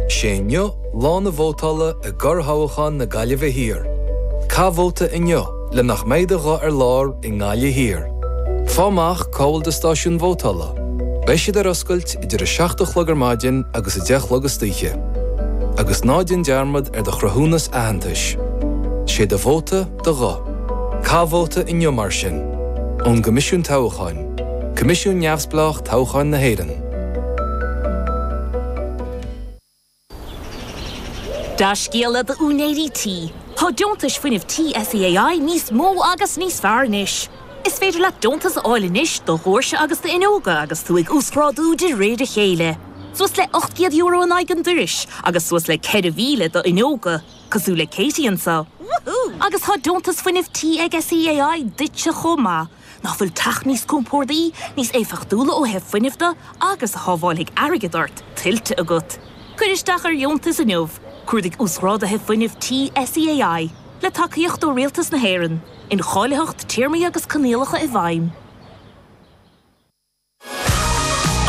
Sé inniu lá na vótála i gcorrthoghchán na Gaillimhe Thiar. Caith vóta inniu le nach mbeidh do ghuth ar lár i nGaillimh Thiar. Fáigh amach cá bhfuil do stáisiún vótála. Beidh siad ar oscailt idir 7 a chlog ar maidin agus 10 a chlog istoíche. Agus ná déan dearmad ar do chruthúnas aitheantais. Sé do vóta do ghuth. Caith vóta inniu mar sin. Ón gCoimisiún Toghcháin, Coimisiún Neamhspleách Toghcháin na hÉireann. Dea-scéala d'úinéirí tí, tá deontais fuinnimh tí SEAI níos mó agus níos fearr anois. Is féidir leat deontas a fháil anois do dhoirse agus d'fhuinneoga agus tú ag uasghrádú de réir a chéile. Suas le €800 in aghaidh an dorais agus suas le 4,000 d'fhuinneoga, cosúil le Katie anseo. Agus tá deontas fuinnimh tí ag SEAI duitse chomh maith. Nach bhfuil teach níos compordaí, níos éifeachtúla ó thaobh fuinnimh de agus a shábhálfaidh airgead ort, tuillte agat? Cuir isteach ar dheontas inniu! Cuardaigh Uasghráduithe Fuinnimh Tí SEAI, le tacaíocht ó Rialtas na hÉireann. Incháilitheacht, téarmaí agus coinníollacha i bhfeidhm.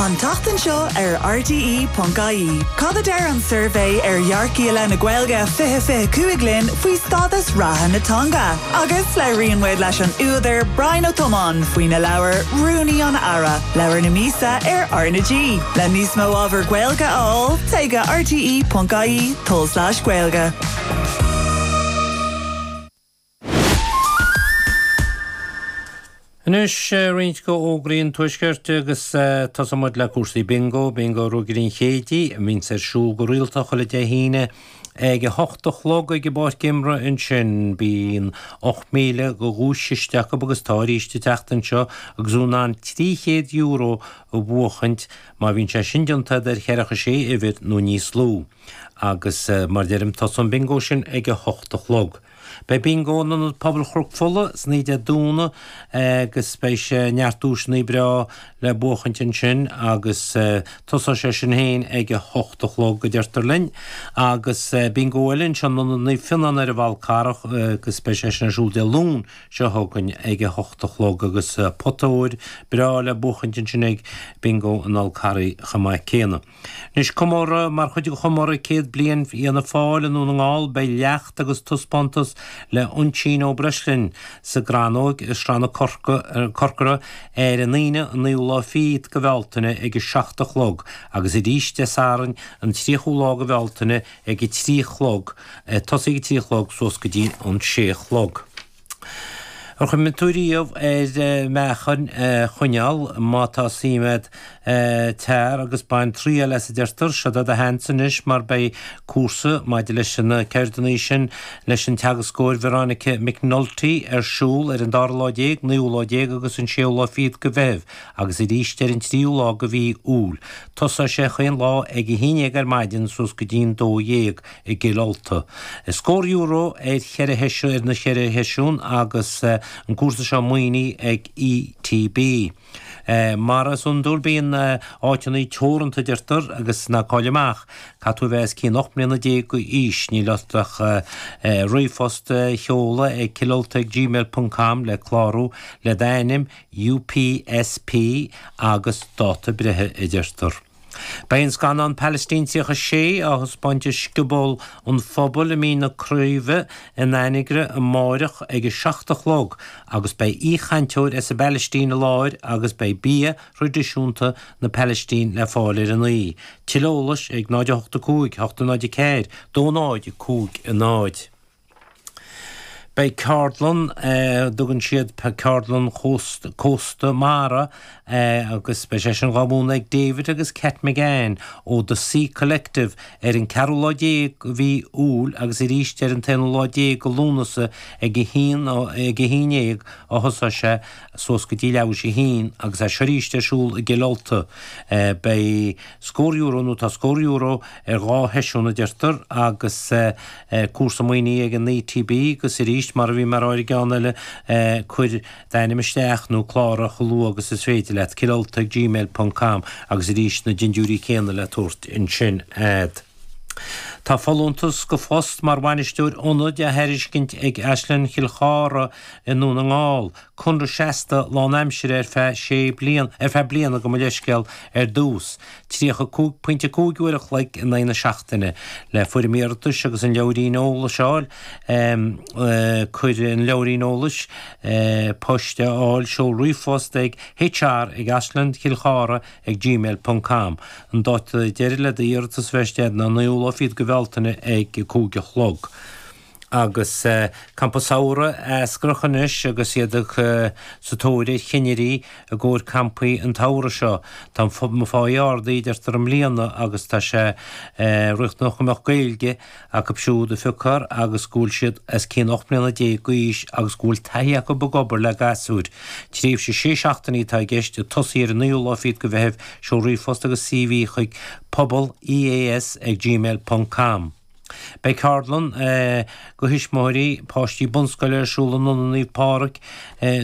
An tseachtain seo ar RTÉ.ie, cad a deir an suirbhé ar dhearcthaí i leith na Gaeilge 2025 linn faoi stádas reatha na teanga? Agus labhraíonn muid leis an údar Brian Ó Tiomáin faoina leabhar Rúnaí an Aire, leabhar na míosa ar R na G. Le níos mó ábhar Gaeilge a fháil, téigh go rte.ie tulslais Gaeilge. Anois roinnt de fhógraí an Tuaiscirt agus tosóidh muid le cúrsaí bingo, Bingo Ruagairí an Chéididh, a bhíonns ar siúl go rialta chuile Dé hAoine ag a hocht a chlog ag an bpáirc imeartha ansin. Bíonn 8,000 de dhuaischiste acu agus tá arís an tseachtain seo agus thú in ann €300 a bhuachaint má bhíonn sé sin déanta agat ar cheathracha sé uimhir nó níos lú. Agus mar a deirim tosaíonn an bingo sin ag a hocht a chlog. Beidh Bingo in Ionad Pobail Chnoc Fola san oíche Dé Domhnaigh agus beidh sé neart duaiseanna breá le buachaint ansin agus tosóidh sé sin féin ag a hocht a chlog a deirtear linn. Agus Bingo eile anseo in Ionad Naomh Fionnán ar an bhFal Carrach agus beidh sé sin ar siúl Dé Luain seo chugainn ag a hocht a chlog agus pota óir breá le buachaint ansin ag Bingo an Fhál Carraigh chomh maith céanna. Anois, comóradh, Mar chuid de chomóradh 100 bliain Fhianna Fáil i nDún na nGall, beidh leacht agus taispeántas le Uinsionn Ó Breisleáin sa gCrannóg i Srath na Corcora ar an Aoine an naoú lá fichead de Bhealtaine ag a 7 a chlog agus arís Dé Sathairn an 30ú lá de Bhealtaine ag a 3 a chlog, tosaí ag a 3 a chlog suas go dtí an 6 a chlog. Ar chuimhnigh tú riamh ar mheáchan a choinneáil? Má tá suim agat, tar agus bain triail as a deirtear. Seo é do sheans anois mar beidh cúrsa maidir leis na ceirdeanna sin leis an teagascóir Veronica McNulty ar siúl ar an dara lá déag, naoú lá déag agus an séú lá fichead de Mheitheamh agus arís ar an tríú lá de mhí Iúil. Tosóidh sé chaon lá ag a haon dhéag ar maidin suas go dtí'n dó dhéag. i gCill Ulta. Scór euro ar cheithre sheisiún ar na cheithre sheisiún agus an cúrsa seo maoinithe ag ETB. Mar is iondúil bíonn áiteanna teoranta a deirtear agus ná caill amach, caithfidh tú a bheith os cionn 18 mbliana d'aois, níl ort ach ríomhphost a sheoladh ag cillulta ag gmail ponc com le clárú le d'ainm, UPSP agus dáta breithe a deirtear. Beidh an scannán Palestine 36 á thaispeáint i Scioból an Phobail i Mín na Craoibhe in Anagaire amáireach ag a 7 a chlog agus beidh aoichainteoir as an bPalaistín i láthair agus beidh bia thraidisiúnta na Palaistíne le fáil ar an aoi. Tuilleadh eolais ag 0 8 5 8 0 4 2 0 5 0. Beidh ceardlann, a dtugann siad Ceardlann Cósta Mara, agus beidh sé sin dhá mhúineadh ag David agus Cat McGann ó The Sea Collective ar an ceathrú lá déag de mhí Iúil agus arís ar an t-aonú lá déag de Lúnasa ag a haon ag a haon dhéag a thosóidh sé suas go dtí leathuair théis a haon agus é seo arís ar siúl i gCill Ulta. Beidh scór euro nó tá scór euro ar dhá sheisiún a deirtear agus cúrsa maoinithe ag an ETB agus arís mar a bhí mé a rá ar an gceann eile cuir d'ainm isteach nó cláraigh chomh luath agus is féidir leat, cillulta ag gmail ponc com agus arís na dindiúirí céanna le tabhairt ansin a'd. Tá folúntas go phost mar bhainisteoir ionaid á thairiscint ag Áislann Chill Chartha i nDún na nGall, conradh seasta lánaimsire ar feadh sé bliana, ar feadh bliana gabh mo leithscéal, ar dtús. 35.5 uair a chloig in aghaidh na seachtaine. Le foirm iarratais agus an leabhairín eolais a fháil, cuir an leabhairín eolais poist a fháil, seol ríomhphost ag hr ag Áislann Chill Chartha ag gmail ponc com. An dáta deiridh le d'iarratas a bheith istigh ná an naoú lá fichead go Bhealtaine ag 5 a chlog. Agus Campa Samhraidh eascrach anois agus iad ag sa tóir ar chinnirí i gcomhair campaí an tsamhraidh seo. Tá an pháí ardaithe deirtear i mbliana agus tá sé riachtanach go mbeadh Gaeilge acu siúd a phiocfar agus go bhfuil siad os cionn 18 mbliana d'aois agus go bhfuil taithí acu ag obair le gasúir. Tréimhse sé seachtainí atá i gceist, ag tosaí ar an naoú lá fichead go Mheitheamh, seol ríomhphost agus CV chuig pobal EAS ag gmail ponc com. Beidh ceardlann go thuismitheoirí páistí bunscoile ar siúl in Ionad Naomh Pádraig,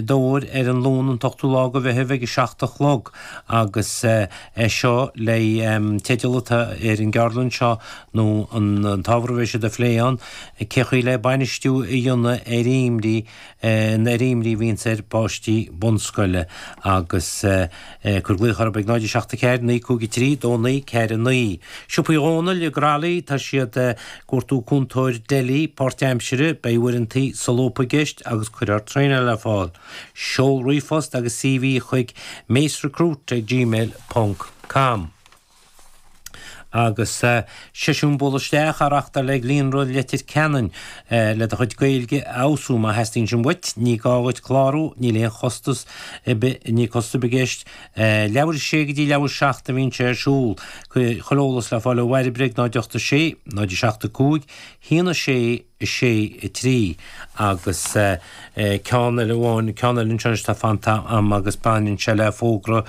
Dobhair ar an Luan an t-ochtú lá go Mheitheamh ag 7 a chlog agus é seo le teideal atá ar an gceardlann seo nó an t-ábhar a bheidh siad a phlé ann, cé chaoi le bainistiú a dhéanamh ar imní, ar imní a bhíonns ar pháistí bunscoile agus cuir glaoch orthu ag 0 7 4 9 5 3 2 9 4 9. Siopaí Dhónaill i gCroithlí, tá siad ag cuartú cúntóir deli páirtaimsire, beidh uaireantaí solúbtha i gceist agus cuirfear traenáil ar fáil. Seol ríomhphost agus CV chuig macerecruit ag gmail ponc com. Agus seisiún bualadh isteach á reachtáil ag Líonra Leitir Ceanainn le do chuid Gaeilge a fheabhsú. Má theastaíonn sin uait, ní gá dhuit clárú, níl aon chostas ar bith, níl costas ar bith i gceist. Leathuair a sé go dtí leathuair a 7 a bhíonn sé ar siúl. Chuile eolas le fáil ó Bhairbre ag 0 8 6, 0 7 5, 1 6, 6, 3 agus ceann eile amháin, ceann eile anseo anois atá fanta a'm agus baineann sé le fógra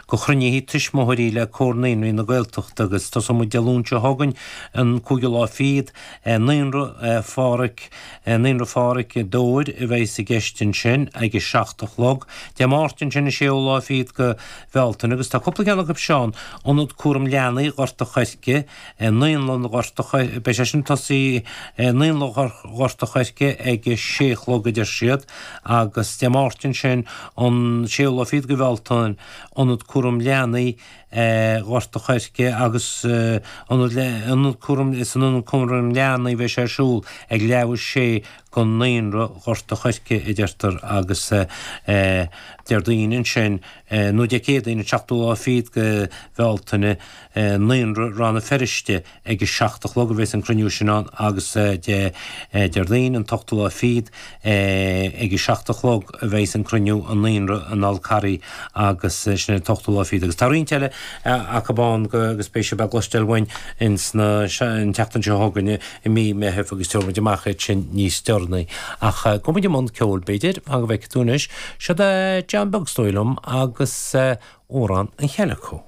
go chruinnithe tuismitheoirí le Comhar Naíonraí na Gaeltachta agus tosóidh muid Dé Luain seo chugainn, an cúigiú lá fichead, Naíonra Pháraic, Naíonra Pháraic, Dobhair a bheas i gceist ansin ag a 7 a chlog. Dé Máirt ansin an séú lá fichead go Bhealtaine agus tá cúpla ceann acu seo ann, Ionad Cúram Leanaí Ghort a' Choirce, Naíonlann Ghort a' Choirce, beidh sé sin ag tosaí i Naíonlann Ghort a' Choirce ag a sé a chlog a deir siad agus Dé Máirt ansin an séú lá fichead go Bhealtaine, Ionad Cúram Leanaí Ghort a' Choirce agus Ionad Cúram, san Ionad Cúram Leanaí a bheidh sé ar siúl ag leathuair a sé go Naíonra Ghort a' Choirce a deirtear agus Déardaoin ansin nó Dé Céadaoin an seachtú lá fichead go Bhealtaine, Naíonra Rann na Feirste ag a 7 a chlog a bheas an cruinniú sin ann agus Dé Déardaoin an t-ochtú lá fichead ag a 7 a chlog a bheas an cruinniú i Naíonra an Fhál Carraigh agus sin an t-ochtú lá fichead agus tá roinnt eile acu ann agus beidh sibh á gcloisteáil uainn ins na an tseachtain seo chugainn i mí Meithimh agus tabharfaidh muid amach iad sin níos deireanaí. Ach gabhfaidh muid i mbun ceoil b'fhéidir, fan go bhfeicfidh tú anois. Siod é John Beag is dóigh liom agus amhrán an Chaileaco.